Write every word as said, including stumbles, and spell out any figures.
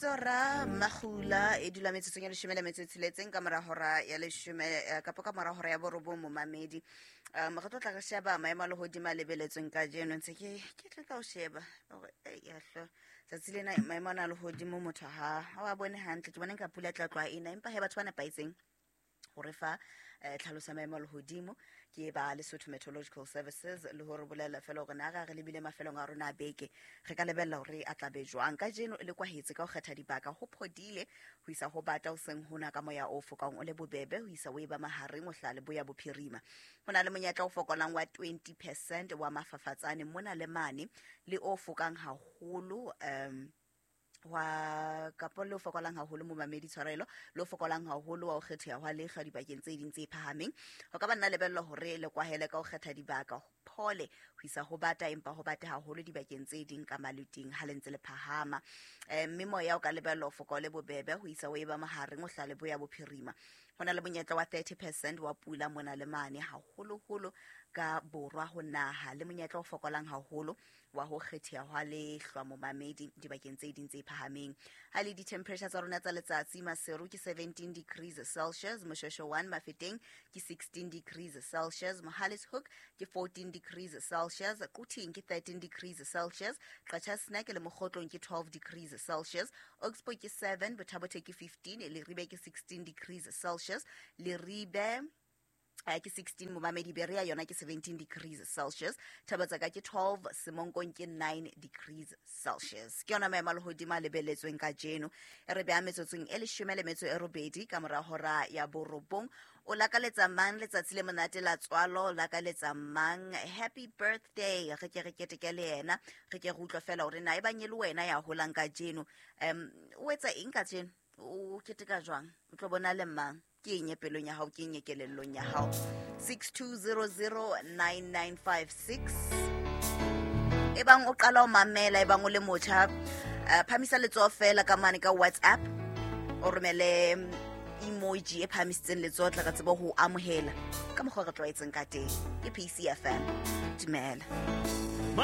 Tsora Magula e dula metsotsong ya leshome le metso e tsheletseng ka mora hora ya leshome, eh, kapa ka mora hora ya borobong, momamedi. um re tlo tla re sheba maemo a lehodimo a lebeletsweng kajeno. Ntse ke ke tla ka o sheba hore, ei, yahlo, tsatsi lena maemo ana a lehodimo motho ha ha wa bone hantle. Ke bona nka pula e tla tloha ena, empa he batho ba nepahetseng hore fa eh, tlhaloso ya maemo a lehodimo ke ba Lesotho Meteorological Services, le hore bolela fela hore na re re lebile mafelong a rona a beke, re ka lebella hore a tla be jwang. Kajeno le kwahetse ka ho kgetha dibaka, ho phodile ho isa ho bata hoseng hona, ka moya o fokang o le bobebe ho isa o e ba mahareng o hlaha leboya bophirima. Ho na le monyetla o fokolang wa twenty percent wa mafafatsane mona le mane, le o fokang haholo um wa kapo le o fokolang haholo, momamedi, tshwarelo, le o fokolang haholo wa ho kgetheha hwa lehlwa dibakeng tse ding tse phahameng. Ho ka ba nna lebellwa hore le kwahele ka ho kgetha dibaka, ho phole ho isa ho bata, empa ho bate haholo dibakeng tse ding ka maluting ha le ntse le phahama. um mme moya o ka lebellwa ho foka o le bobebe ho isa o e ba mahareng o hlaha leboya bophirima. Ho na le monyetla wa thirty percent wa pula mona le mane, haholoholo ka borwa ho naha, le monyetla o fokolang haholo wa ho kgetheha hwa lehlwa, momamedi, dibakeng tse ding tse phahameng. Ha le di-temperature tsa rona tsa letsatsi, Maseru ke seventeen degrees Celsius, Moshoeshoe one Mafeteng ke sixteen degrees Celsius, Mohale's Hoek ke fourteen degrees Celsius, Quthing ke thirteen degrees Celsius, Qacha's Nek le Mokhotlong ke twelve degrees Celsius, Oxbow ke seven, Botha-Bothe ke fifteen, Leribe ke sixteen degrees Celsius, Leribe eh, ke sixteen, momamedi. Berea yona ke seventeen degrees Celsius, Thabatsaka ke twelve, Semonkong ke nine degrees Celsius. Ke yona maemo a lehodimo a lebeletsweng kajeno. E re beha metsotsong e leshome le metso e robedi ka mora hora ya borobong. O lakaletsa mang letsatsi le monate la tswalo? O lakaletsa mang happy birthday? Re ke re keteke le yena, re ke re utlwe fela hore na e bang e le wena ya holang kajeno, um o etsa eng kajeno, o keteka jwang, o tlo bona le mang, ke eng e pelong ya hao, ke eng e kelellong ya hao. six two zero zero nine nine five six. E bang o qala ho mamela, e bang o le motjha, uh, phamisa letsoho fela ka mane ka WhatsApp, o romele mm, emoji e phahamisitseng letsoho, tla re tsebe ho amohela ka mokgwa o re tlwaetseng ka teng. Ke P C F M, dumela.